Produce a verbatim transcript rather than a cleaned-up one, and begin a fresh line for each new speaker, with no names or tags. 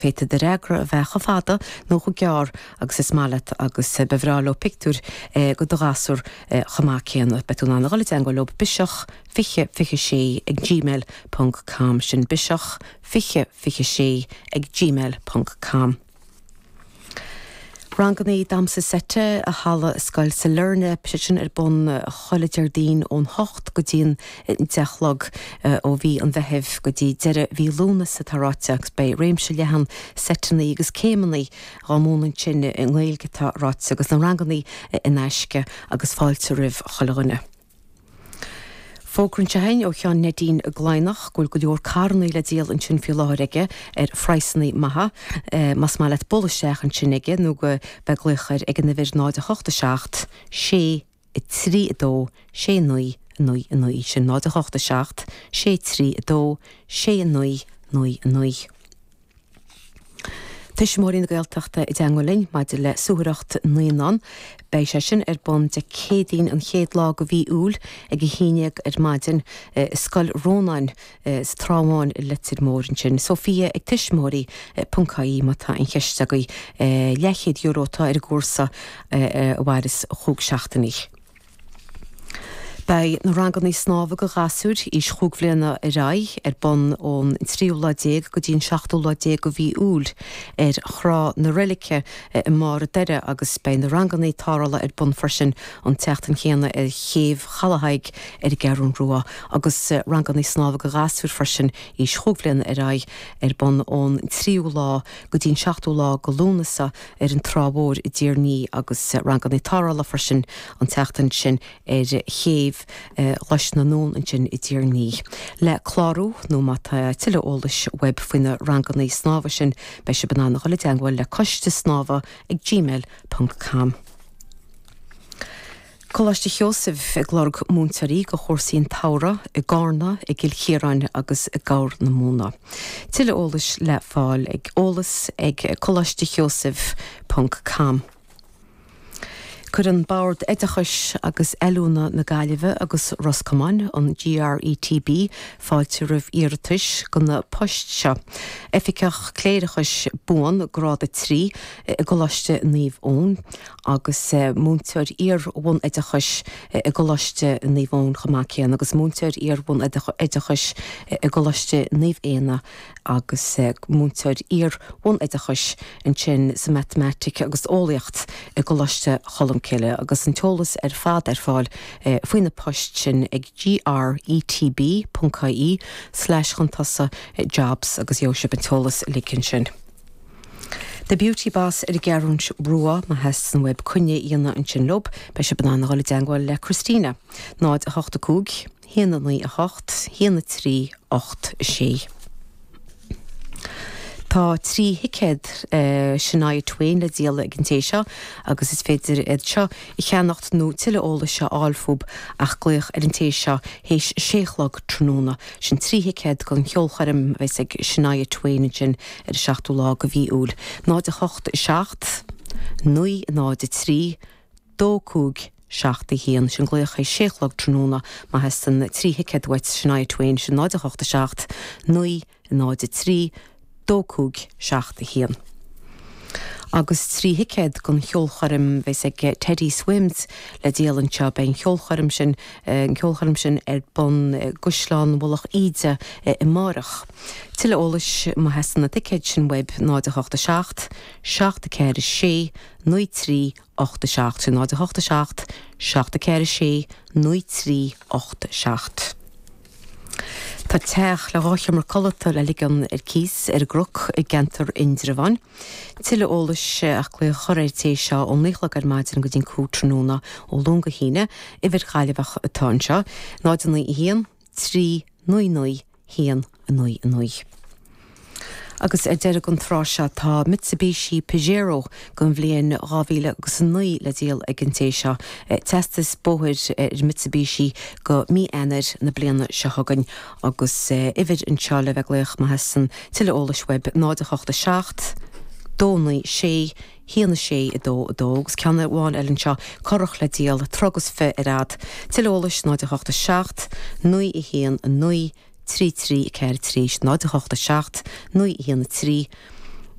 Féadfaidh do fhreagra a bheith chomh fada nó chomh gearr agus is maith leat agus ba bhreá leo pictiúr go do ghasúr chomh maith céanna. Beidh tú in ann a dhul i dteagmháil leo biseach fiche fiche sé ag gmail ponc com sin biseach fiche fiche sé ag gmail ponc com. Ranganna damhsa seite i halla Scoil Sailearna sé sin ar bun chuile Déardaoin ón hocht go dtí an deich a chlog ó mhí an Mheithimh go dtí deireadh mhí Lúnasa atá ráite agus beidh réimse leathan seiteanna agus céimeanna á múineadh ansin i nGaeilge atá ráite agus na ranganna in aisce agus fáilte roimh chuile dhuine. Fógra anseo ó Sheán Neidín i gCladhnach go bhfuil go leor carranna le díol ansin faoi láthair aige ar phraghsanna maithe. Más maith leat bualadh isteach ansin aige nó go bheith glaoch air ag an uimhir náid a hocht a seacht sé trí a dó sé naoi naoi naoi sin náid a hocht a seacht sé trí a dó sé naoi naoi naoi. Tuismitheoirí na Gaeltachta i dteagmháil linn maidir le suathaireacht naíonán. Beidh sé sin ar bun Dé Céadaoin an chéad lá go mhí Iúil ag a haon déag ar maidin i Scoil Rónáin sa Trá Bháin i Leitir Móir ansin. Sophia ag tuismitheoirí ponc ie má tá aon cheist agaibh. Leathchéad euro atá ar an gcúrsa a mhaireas chúig seachtainí. Beidh na ranganna snámha go ghasúir aois chúig bhliana ar aghaidh ar bun ón tríú lá déag go dtí an seachtú lá déag go mhí Iúil ar Thrá na Reilice i mBarr an Doire agus beidh na ranganna tarrthála ar bun freisin an tseachtain chéanna ar chéibh Chaladh Thaidhg ar an gCeathrú Rua agus ranganna snámha go ghasúir freisin aois chúig bhliana ar aghaidh ar bun ón tríú lá go dtí an seachtú lá go Lúnasa ar an Trá Mhór i dTír an Fhia agus ranganna tarrthála freisin an tseachtain sin ar chéibh Ghlais na nDún ansin i dTír an Fhia. Le clárú nó má tá tuilleadh eolais uaibh faoi na ranganna snámha sin, beidh sibh in ann a dhul i dteagmháil le coiste snámha ag gmail ponc com. Coláiste Sheosaimh ag lorg múinteoirí go chúrsaí an tsamhraidh i gCarna, i gCill Chiaráin agus i gCorr na Móna. Tuilleadh eolais le fáil ag eolas ag coláiste sheosaimh ponc com. Cuireann Bord Oideachais agus Oiliúna na Gaillimhe agus Ros Comáin, an GRETB, fáilte roimh iarratais go na poist seo. Oifigeach Cléireachais Buan, Grád a trí, i gColáiste Naomh Eoin agus múinteoir iar-bhunoideachais i gColáiste Naomh Eoin chomh maith céanna agus múinteoir iar-bhunoideachais i gColáiste Naomh Éanna agus múinteoir iar-bhunoideachais ansin sa Matamaitic agus Eolaíocht i gColáiste Cholmcille agus an t-eolas ar fad ar fáil faoi na poist sin ag gretb ponc ie slash chun tosaigh jobs agus gheobhaidh sibh an t-eolas uilig ansin. The Beauty Boss ar an gCeathrú Rua má theastaíonn uaibh coinne a dhéanamh ansin leo, beidh sibh in ann a dhul i dteagmháil le Christina, náid a hocht a cúig, haon a naoi a hocht, haon a trí ocht a sé. Tá trí thicéad Shania Twain le díol ag an té seo agus is féidir iad seo a cheannacht nó tuilleadh eolais a fháil fúthu ach glaoch ar an té seo théis sé a chlog tráthnóna. Sin trí thicéad don cheolchoirm a bheas ag Shania Twain ansin ar an seachtú lá de mhí Iúil. náid a hocht seacht, naoi náid a trí, dó cúig seacht a haon. Sin glaoch théis sé a chlog tráthnóna má theastaíonn trí thicéad uait Shania Twain sin náid a hocht seacht, naoi náid a trí, dó cúig seacht a haon. Agus trí thicéad don cheolchoirm a bheas ag Teddy Swims le díol anseo. Beidh an cheolchoirm sin an ceolchoirm sin ar bun i gCaisleán Mhullach Íde amárach. Tuilleadh eolais má theastaíonn na ticéid sin uaibh náid a hocht a seacht, seacht a ceathair a sé, naoi trí ocht a seacht, sin náid a hocht a seacht, seacht a ceathair a sé, naoi trí ocht a seacht. Tá teach le dhá sheomra codlata le ligean ar cíos ar an gCnoc i gceantar Indreabháin. Tuilleadh eolais ach glaoch a chur ar an té seo ón naoi a chlog ar maidin go dtí an cúig tráthnóna ó Luan go hAoine, uimhir Ghaillimheach atá anseo, náid a naoi a haon, trí, naoi naoi, haon, a naoi, a naoi. Agus ar deireadh an tráth seo tá Mitsubishi Pajero den bhliain dhá mhíle agus a naoi le díol ag an té seo. Teastas bóthair ar Mitsubishi go mí Eanáir na bliana seo chugainn agus uimhir anseo le bheith glaoch má theastaíonn tuilleadh eolais uaibh náid a hocht a seacht, dó naoi sé, haon a sé a dó a dó agus ceann amháin eile anseo curach le díol troigh agus fiche ar fhad. Tuilleadh eolais náid a hocht a seacht, naoi a haon a naoi, trí trí ceathair trí, náid a hocht a seacht, naoi a haon a trí,